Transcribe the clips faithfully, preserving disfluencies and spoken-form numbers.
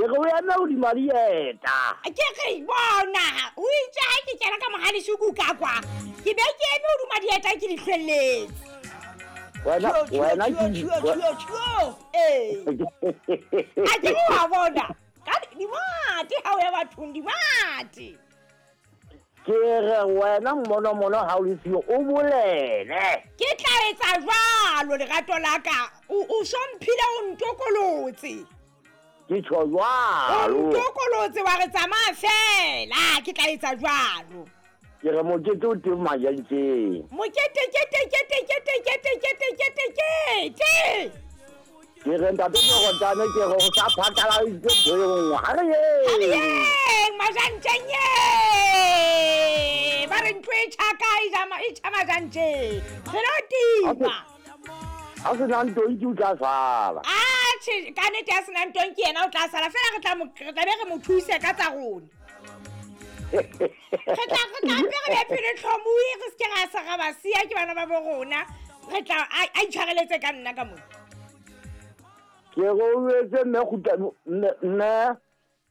re o eme hodima dieta. Ke re bona o itse ha ke kena ka mohalesuku ka kwa ke be ke eme hodima dieta ke di hlwelletse. Wena wena ke ee a ke wa bona ka dimate ha o ya bathong dimate. Ke re wena mmono mono ha o le siyo o bolele. Ke tla etsa jwalo lerato la ka. O somphile o ntokolotse. Ke tjho jwalo. O ntokolotse wa re tsamaya fela ke tla etsa jwalo. Ke re mokete o teng majantjeng. Mokete kete kete kete kete kete kete kete. Ke re ntate Morotane ke re o sa phatlaladitse ntho e nngwe. Ha re yeng. Ha re yeng majantjeng ye. Ba re ntho e tjhaka e jama e tjha majantjeng. Re lo tima. Ha se nang tonki o tla sala. Atjhe ka nnete ya senang tonki yena o tla sala fela re tla mo re tla be re mo thuse ka tsa rona. Re tla re tla be re be pele tlhomoe re se ke ra sa ra ba siya ke bana ba bo rona. Re tla a itshwareletse ka nna ka mona. Ke re o etse mme kgutla mme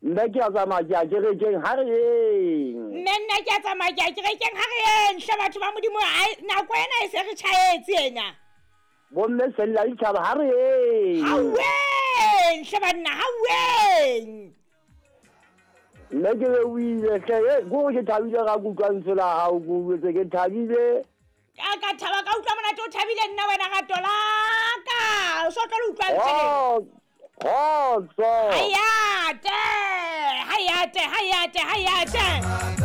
mme ke a tsamaya ke a kerekeng ha re yeng. Mme nna ke a tsamaya ke a kerekeng ha re yeng hle batho ba Modimo nako ena e se re tjhaetse ena. Bomme sella ditjhaba ha re yeng. Haweng hle banna haweng. Nna ke re o ile hle ko ke thabile ga kutlwa lentswe la hao ko utlwetse ke thabile. Ka ka thaba ka utlwa monate o thabile nna wena rato la ka. O so tlo le utlwa ntse. Kgotso. Hayate, hayate, hayate, hayate.